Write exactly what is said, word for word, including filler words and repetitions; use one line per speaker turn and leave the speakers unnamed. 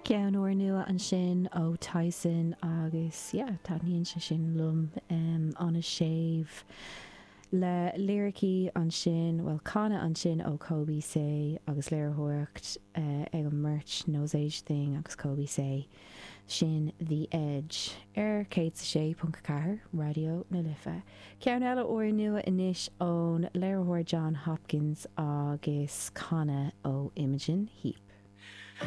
Ceann úrnua ansin ó Tyson agus yeah, taitníonn sé sin liom um, an-séimh le liricí ansin well canadh ansin ó Coby Sey agus léiritheoireacht uh, ag an mbeirt Nosaj Thing agus Coby Sey sin The Edge ar céad sé ponc ceathair Raidió na Life. Ceann eile úrnua anois ón léiritheoir Jon Hopkins agus canadh ó Imogen Heap.